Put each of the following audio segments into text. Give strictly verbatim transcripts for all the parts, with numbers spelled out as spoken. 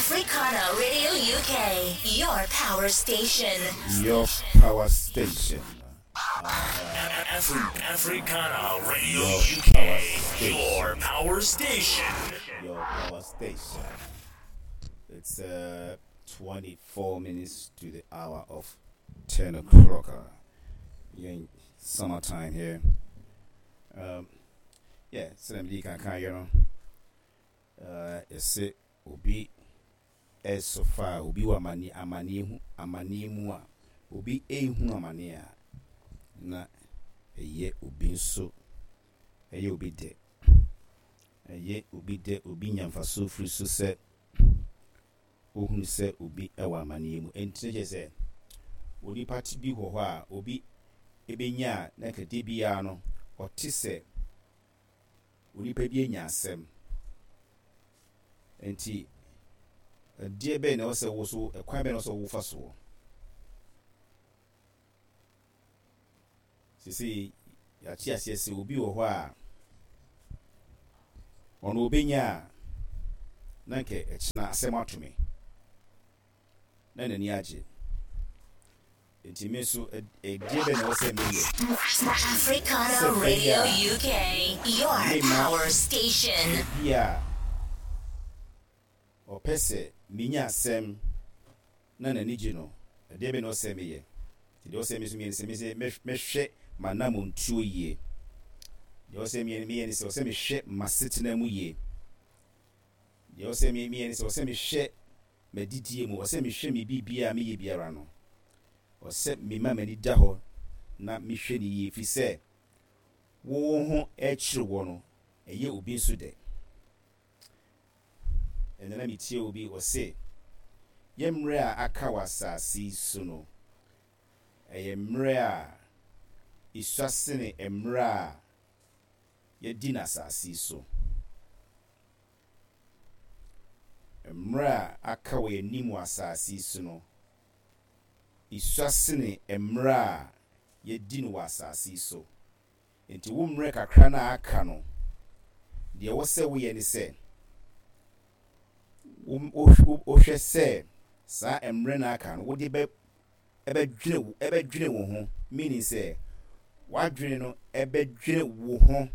Africana Radio U K, your power station. Your power station. Afri- Africana Radio Your U K, power station. Your power station. Your power station. It's uh, twenty-four minutes to the hour of ten o'clock. Uh, yeah, in summertime here. Um, yeah, so I'm can you know. Uh, it's obi so far obi wɔ amane amane hu amane mu a obi ehu amane a na ɛyɛ obi nso, ɛyɛ obi dɛ, ɛyɛ obi dɛ, obi nya mfaso firi so sɛ ohunu sɛ obi ɛwɔ amaneɛ mu. Ɛnti ne kyerɛ sɛ onipa ti bi wɔ hɔ a obi ebenya a na kɛde biara no ɔte sɛ onipa bi anya asɛm. Nti ɛdeɛ bɛn na ɛwɔ sɛ wo so, ɛkwan bɛn na ɛwɔ sɛ wofa soɔ? Sisi yɛate aseɛ sɛ obi wɔ hɔ a ɔno obenya a na nkɛ ɛkyena asɛm ato me na n'ani agye. Nti me nso, ɛdeɛ bɛn na ɛwɔ sɛ meyɛ? Africana Sɛ Radio bɛyɛ a U K, your mema power station. Obi a ɔpɛ sɛ menya asɛm na n'ani gye no, ɛdeɛ bɛn na ɔsɛ meyɛ? Nti deɛ ɔsɛ me nso meyɛ ne sɛ me sɛ mɛhwɛ m'anammɔntuo yie. Deɛ ɔsɛ meyɛ meyɛ ne sɛ ɔsɛ mehwɛ m'asetena mu yie. Deɛ ɔsɛ meyɛ ne sɛ ɔsɛ mehwɛ m'adidie mu, ɔsɛ mehwɛ me biribiara a meyɛ biara no, ɔsɛ mema m'ani da hɔ na mehwɛ ne yie, firi sɛ wo ho ɛkyerɛ wɔ no, ɛyɛ obi nso dɛ. Ɛnna na metie obi, ɔse yɛ mmerɛ a aka wɔ asase yi so no, ɛyɛ mmerɛ a esua sene mmerɛ a yɛdi n'asase yi so. Mmerɛ a aka wɔ yɛn wɔ asase yi so no, esua sene mmerɛ a yɛdi no wɔ asase yi so. Nti wo mmerɛ kakra no a aka no, deɛ ɛwɔ sɛ woyɛ ne sɛ wohwɛ sɛ saa mmerɛ no aka no, wode bɛ ɛbɛdwene wo ɛbɛdwene wo ho, meaning sɛ wadwene no ɛbɛdwene wo ho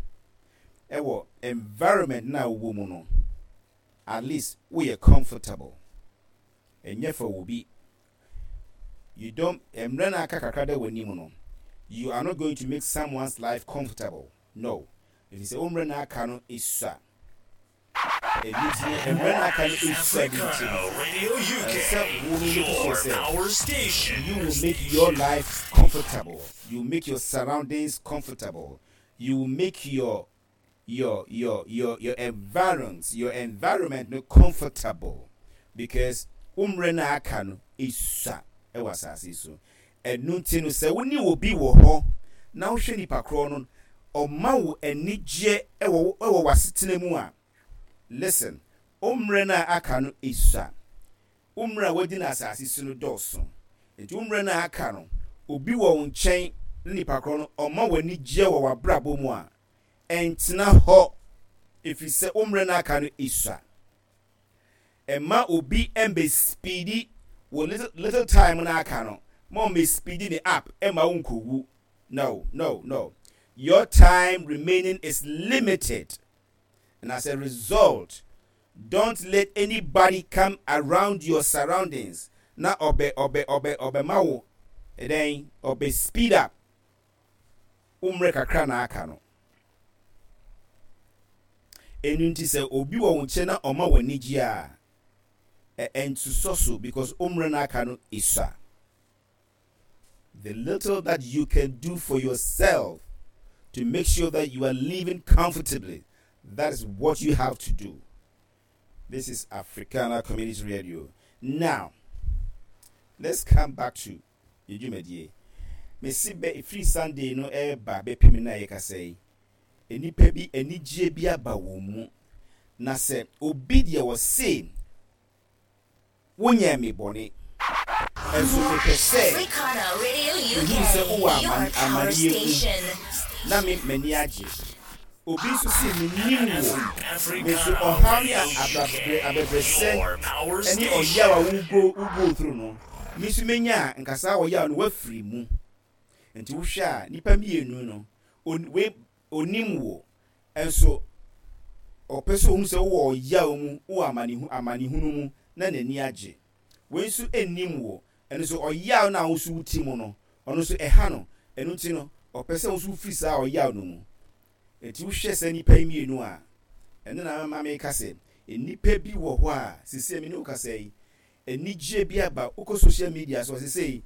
ɛwɔ environment na wowɔ mu no, at least woyɛ comfortable. Ɛnyɛ fa wo bi, you don't, mmerɛ no aka kakra da w'anim no, you are not going to make someone's life comfortable, no, ɛfiri sɛ wo mmerɛ no aka no esua. Ɛno nti no, mmerɛ no aka no esua bi nti no, Radio U K, ɛsɛ wo no make your sure sɛ power station. you will make your life comfortable, you make your surroundings comfortable, you will make your your your your your environment your environment no comfortable, because wo mmerɛ no aka no esua ɛwɔ asase yi so. Ɛno nti no, sɛ wo ne obi wɔ hɔ na wohwɛ nipa korɔ no, ɔma wo anigyeɛ ɛwɔ ɛwɔ w'asetena mu a, listen, wo mmerɛ no a aka no esua. Wo mmerɛ a wadi no asase so no dɔɔso, nti wo mmerɛ no a aka no, obi wɔ wo nkyɛn na nipa korɔ no ɔma wo anigyeɛ wɔ w'abrabɔ mu a, ɛntena hɔ, ɛfiri sɛ wo mmerɛ no aka no esua. Ɛma obi ɛmbɛ speedi wɔ little little time no aka no ma ɔmbɛ speedi ne up ɛma wo nkɔwu. No, no, no, your time remaining is limited, and as a result, don't let anybody come around your surroundings na ɔbɛ ɔbɛ ɔbɛ ɔbɛma wo ɛdɛn, ɔbɛ speed up wo mmerɛ kakra na aka no. Ɛnu nti sɛ obi wɔ wo nkyɛn na ɔma w'ani gye a, ɛ ɛntusɔ so, because wo mmerɛ no aka no esua. The little that you can do for yourself to make sure that you are living comfortably, that is what you have to do. This is Africana Community Radio. Now let's come back to yɛ dwumadie. Mesi bɛ efiri Sunday no ɛreba bɛpem na yɛkasa yi, nnipa bi anigyeɛ bi aba wɔn mu, na sɛ obi deɛ wɔse wonyɛ me bɔne, ɛnso mepɛ sɛ Africana Radio mehu sɛ wowɔ U K, your amane power amaneɛ mu station. Na me m'ani agye. Obi nso si menim wo, me nso ɔhaw ne abɛbrɛsɛ ɛne ɔyaw a wogo wogo through no, me nso menya a nka saa ɔyaw no wafiri mu. Nti wohwɛ a, nipa mmienu no, we onim wo, nso ɔpɛ sɛ ohun sɛ wowɔ ɔyaw mu, wowɔ amanehu amanehunu mu na n'ani agye. Wei nso nnim wo, ɛno nso ɔyaw no a wo nso woti mu no, ɔno nso ɛha no. Ɛno nti no, ɔpɛ sɛ wo nso wofiri saa ɔyaw no mu. Nti wohwɛ sɛ nipa yi mmienu a, ɛno na ama meka sɛ nnipa bi wɔ hɔ a sisi mi ne wo kasa yi, anigye bi aba. Wokɔ social media so, sisi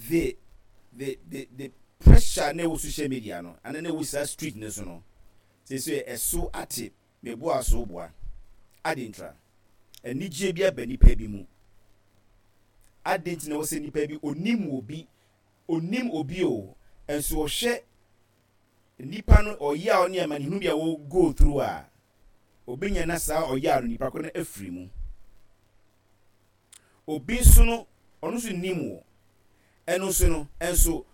the the the the pressure na ɛwɔ social media no ana na ɛwɔ saa street no so no, sisi ɛso ate. Meboa so boa ade ntra anigye bi aba nipa bi mu. Ade nti na wɔ sɛ nipa bi onim obi, onim obi o, nso ɔhwɛ nipa no ɔyaw ne amanehunu bi a wɔ go through a, obenya na saa ɔyaw no nipa ko no afiri mu. Obi nso no, ɔno nso nim wɔ ɛno nso no, ɛnso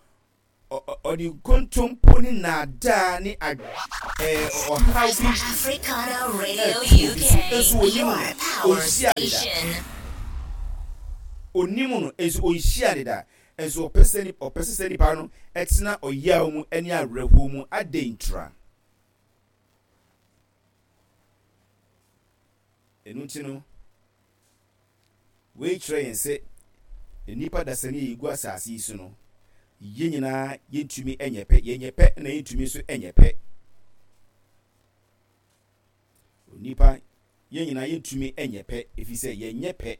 ɔde nkontompo ne naadaa ne ɛɛ ɔhaw bi Africana Radio ɛto obi so, U K, nso onim your no, power ɔnhyia ne da. station. Onim no, nso ɔnhyia ne da, nso ɔpɛ sɛ ɔpɛ sɛ nipa no ɛtena ɔyaw mu ɛne awerɛhoɔ mu. Adɛn ntra? Ɛno nti no, wei kyerɛ yɛn sɛ nnipa dasani a yɛgu asase yi so no, yɛn nyinaa yɛntumi nyɛ pɛ. Yɛnyɛ pɛ na yɛntumi nso nyɛ pɛ. Onipa, yɛn nyinaa yɛntumi nyɛ pɛ, ɛfiri sɛ yɛnyɛ pɛ.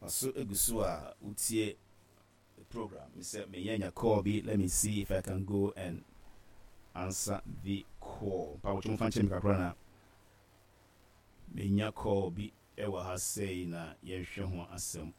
Ɔso egu so a wotie the program. Sɛ meyɛ nya call bi, let me see if I can go and answer the call. Pa wotwe mfa nkyɛn mi kakra na menya call bi ɛwɔ ha sei na yɛhwɛ ho asɛm.